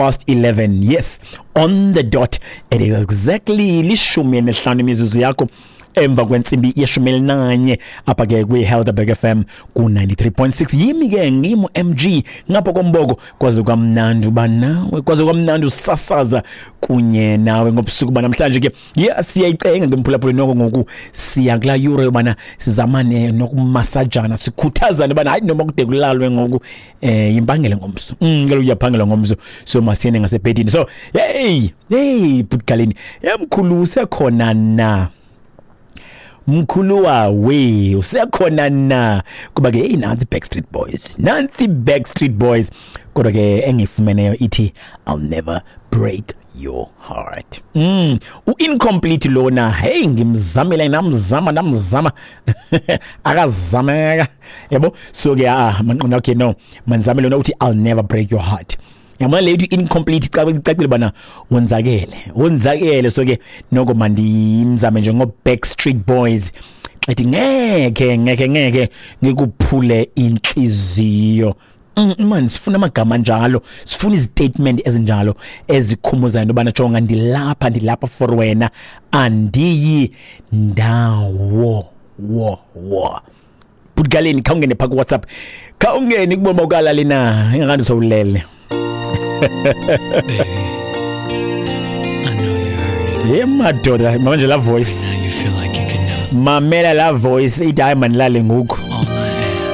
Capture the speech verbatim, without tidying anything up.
Past eleven, yes, on the dot. It is exactly lishumi elihlanu imizuzu yakho emva kwentsimbi yeshumi elinanye apha ke kwi-Helderberg F M ku-ninety-three point six. Yimi ke ngimu M G ngapha komboko, kwaze kwamnandi uba nawe, kwaze kwamnandi usasaza kunye nawe ngobusuku banamhlanje ke. Yeah, siyayicenga ke mphulaphuli noko ngoku siya kulaa yure yobana sizamane nokumasajana, sikhuthazane ubana hayi noma kude kulalwe ngoku, eh yimpangele ngomso. Mm, kaloku uyaphangela ngomso, so masiyene ngasebhedini. So hey, hey butgaleni, emkhulu usekhona na? Mkhulu wawe usekhona na? Kuba ke hey, nansi Backstreet Boys, nansi Backstreet Boys, kodwa ke engifumeneyo ithi I'll never break your heart. Mm, u-incomplete lona. Hey, ngimzamile namzama namzama akazameka yabo. So ke ah manqona, okay no manzame lona uthi I'll never break your heart. Yabona le ithi incomplete icacile bana wonzakele wonzakele. So ke noko mandimzame nje ngo Backstreet Boys ethi ngeke ngeke ngeke ngikuphule inhliziyo. Man, sifuna amagama njalo, sifuna izistatement ezinjalo ezikhumbuzayo into jonga ndilapha ndilapha for wena, andiyi ndawo wo wo. Butgaleni khawungene pha ku WhatsApp, khawungene kubona ukalali na ingakandi sowulele. Baby, I know you're hurting. Yeah, madoda, manje la voice. Now you feel like you can never. Mamela la voice ithi hayi manilale ngoku.